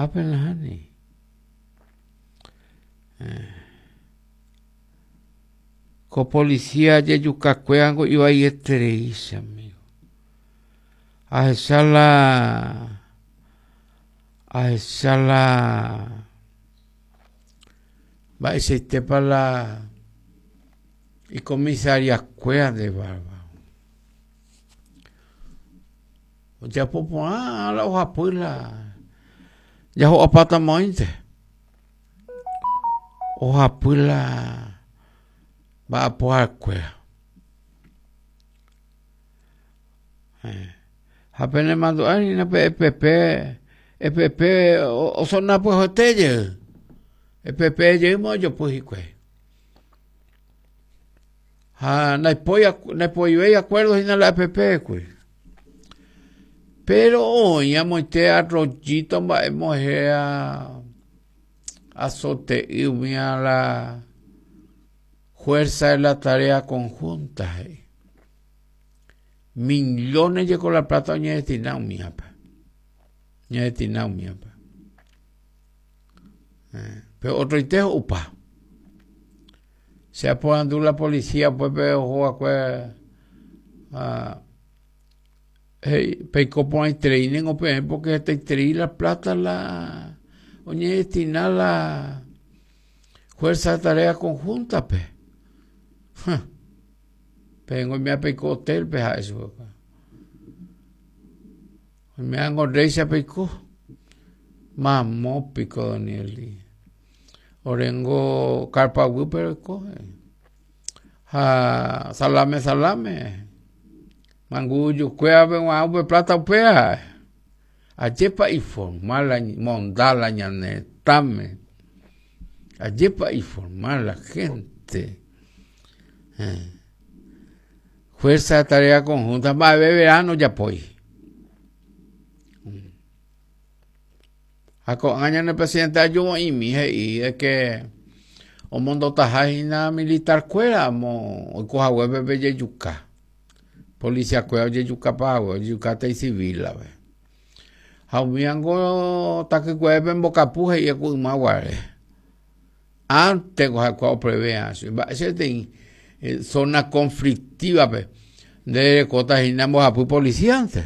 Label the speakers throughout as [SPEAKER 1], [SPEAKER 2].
[SPEAKER 1] Ápe nahániri. Ko policía jejukakuérango ivaieterei che amigo. Ahecha la ahecha la mba'eichaitépa la icomisariakuéra nde bárbaro. Ojapo porã la ohapy la jaho'apáta moõinte. Ohapy la mba'apohakuéra. Ha penemandu'a hína pe EPP, EPP osona pyahuete jey. EPP jeýma ojopy hikuái. Ha ndaipói, ndaipoivéi acuerdo hína la EPP-gui. Pero oĩ amoite arroyito mba'e mohéra azote'y umía la fuerza de la tarea conjunta he'i. Millones jeko la plata oñedestina umíape. Oñedestina umíape. Eh, pero otroite ho'upa. Che aporandu la policía upépe oho va'ekue ha he'i peiko porãiterei ningo peẽ porque hetaiterei la plata la oñedestina la fuerza de tarea conjunta-pe. Peẽngo oiméva peiko hotel-pe ha'e chupekuéra. Oimévango rréicha peiko. Mamo piko Danieli. Orengo carpa guýpe roiko. Ha salame salame. Mangujukuévape g̃uarã upe plata upéva ha'e. Ajépa iformal la monda la ñane retãme. Ajépa iformal la gente. Fuerza de tarea conjunta mba'eve verano ojapói. Ha ko'ág̃a ñane presidente ajuvo'imi he'i de que omondotaha hína militar-kuéra amo oiko haguépe pe jejuka. Policía-kuéra ojejukapa hague, ojejukáta icivil-ave. Ha umívango takykuépe mbokapu he'i ku yma guare. Antes-ko ha'ekuéra opreve'ã chupe. Mba'éicha peteĩ zona conflictiva-pe nde rekóta hína mbohapy policía-nte.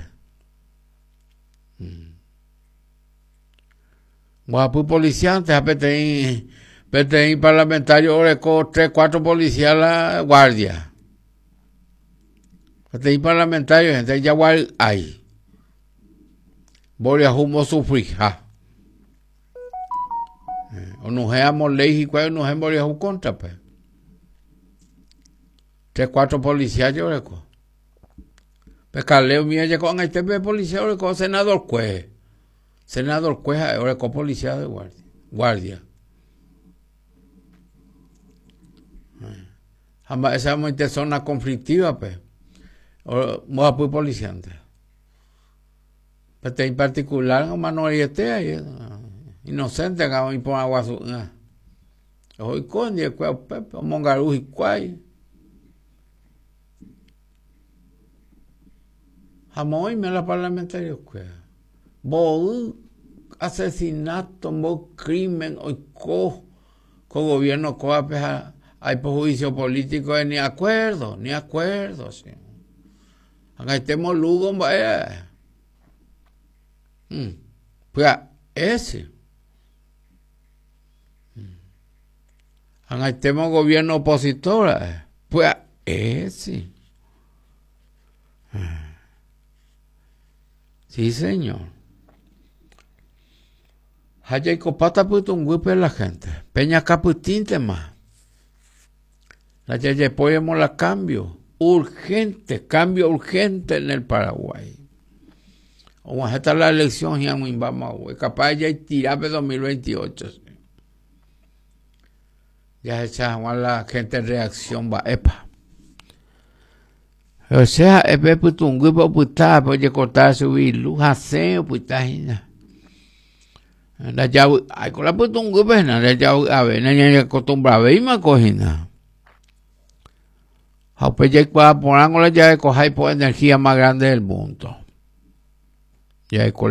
[SPEAKER 1] Mbohapy policiante ha peteĩ peteĩ parlamentario oreko tres, cuatro policía la guardia. Peteĩ parlamentario gente jaguary'ái. Mboriahu mbosufriha. Onuhẽ amo ley hikuái onuhẽ mboriahu cóntrape. Tres, cuatro policía je oreko. Pe Caleb umíva je ko'ag̃aite pe policía oreko senador kue. Senador kue ha'e oreko policía de guardia. Guardia. Ha mba'éicha amoite zona conflictiva-pe mbohapy policiante. Peteĩ particular omano reiete inocente nga oĩ porã guasu'ỹva. Oiko ndivekuéra upépe omongaru hikuái. Ha moõ oime la parlamentario-kuéra. Mboy asesinato, mboy crimen oiko ko gobierno kóvape ha aipo juicio político ni acuerdo, ni acuerdo. Ag̃aitémo Lugo mba'e pya'e che. Ag̃aitémo gobierno opositor ra'e, pya'e si. Sí, señor. Ha jaikopáta pytũnguýpe la gente. Peñakapytĩntema. La jajepóiramo la cambio. Urgente, cambio urgente en el Paraguay. Og̃uahẽta la elección hi'ag̃uimbáma voi. Capaz jaitira pe 2028. Jahecha hag̃ua la gente reacción mba'épa. Che ha'e pe pytũnguýpe opyta pe ojekorta chugui ilu hasẽ opyta hína. Ndajavy'ái ko la pytũnguýpe hína, ndajavy'ave, nañañakostumbravéima ko hína. Ha upe jaikuaa porãngo la jarekoha ipo energía más grande del mundo. Jaeko.